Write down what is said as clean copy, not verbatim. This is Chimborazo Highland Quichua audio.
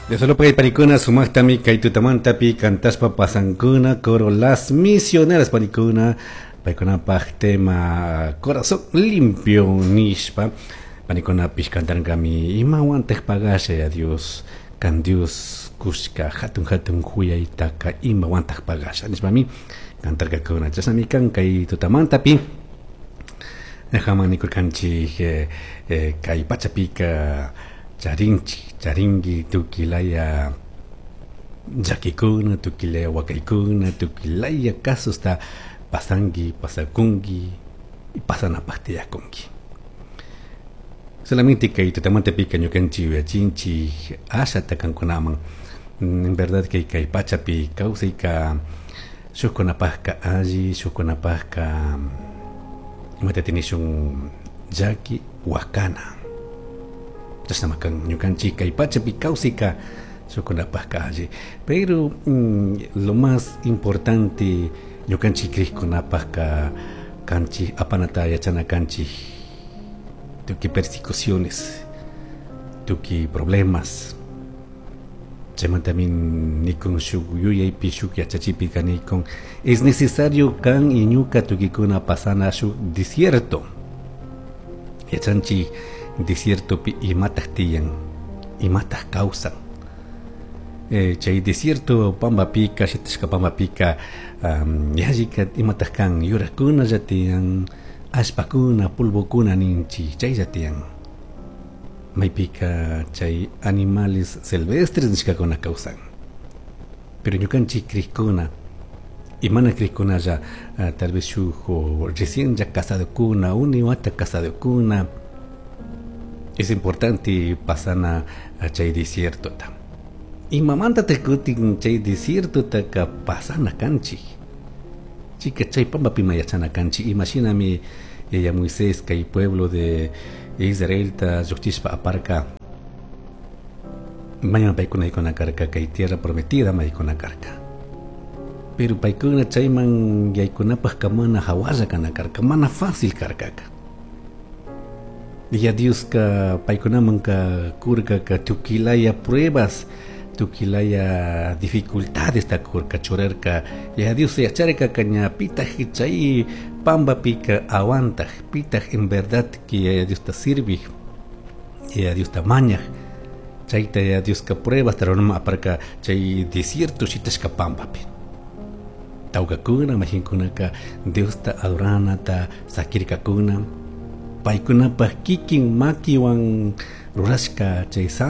Solo panikuna sumaqtami kay tutamantapi cantashpa pasankuna coro Las Misioneras panikuna paykunapaq tema Corazón Limpio nishpa panikunapish cantarkami imawantaq pagasha ya Dios kan Dios kushka hatun hatun huyaytaka imawantaq pagasha nishpami cantarkakuna. Chashnami kan kay tutamantapi haman nikurkanchik kay pachapika charinchik charinki tukilaya llakikuna tukilaya wakaykuna tukilaya casosta pasanki pasakunki y pasanapaq tiyakunki. Solamente kay tutamantapika ñukanchik yuyachinchik ashata kankunaman. En verdad que kay pachapi kawsayka shukkunapaqka alli shukkunapaqka imata tinishun llaki wakana. Chashnama kan ñukanchik kay pachapi kawsayka shukkunapaqka alli. Pero lo más importante ñukanchik krikkunapaqka kanchik apanata yachana kanchik tukuy persecuciones, tukuy problemas. Chaymantami nikun shuk yuyaypi shuk yachachipika nikun es necesario kan y ñuka tukuykuna pasana shuk desierto. Yachanchik desiertopi imataq tiyan, imataq kawsan. Chay desierto pampapika, shitashka pampapika, yallika imataq kan yurakuna tiyan, allpakuna, polvokuna ninchik, chaylla tiyan. Maypika chay animales silvestres nishkakuna kawsan. Pero ñukanchik krikuna y mana krikkunalla, tal vez shuk recién ya casadokuna, uni wata casadokuna, es importante pasana a chay desierto ta. Imamanta te kutin chay desierto ta ka pasana kanchik. Chica chay pampapi yachana kanchik. Imashinami yaya Moisés kay pueblo de Israel ta llukchishpa aparka. Mañana paykuna yaykuna karka kay tierra prometida maykuna karka. Pero paykuna chayman yaykunapaq mana hawalla kana karka, mana fácil karkaka. Ya Dioska paykunaman ka kurka ka tukilaya pruebas, tukilaya dificultades ta kurka churarka. Ya Dios yacharka kaña pitaq chay pampapika aguantaq, pitaq en verdad que ya Dios ta sirvij, ya Dios ta mañaj. Chayta ya Dios ka pruebas taronama aparka chay desierto shitashka pampapi. Tawkakuna majinkunaka Dios ta adoranata sakirkakuna. Paykunapaq kikin makiwan rurashka chay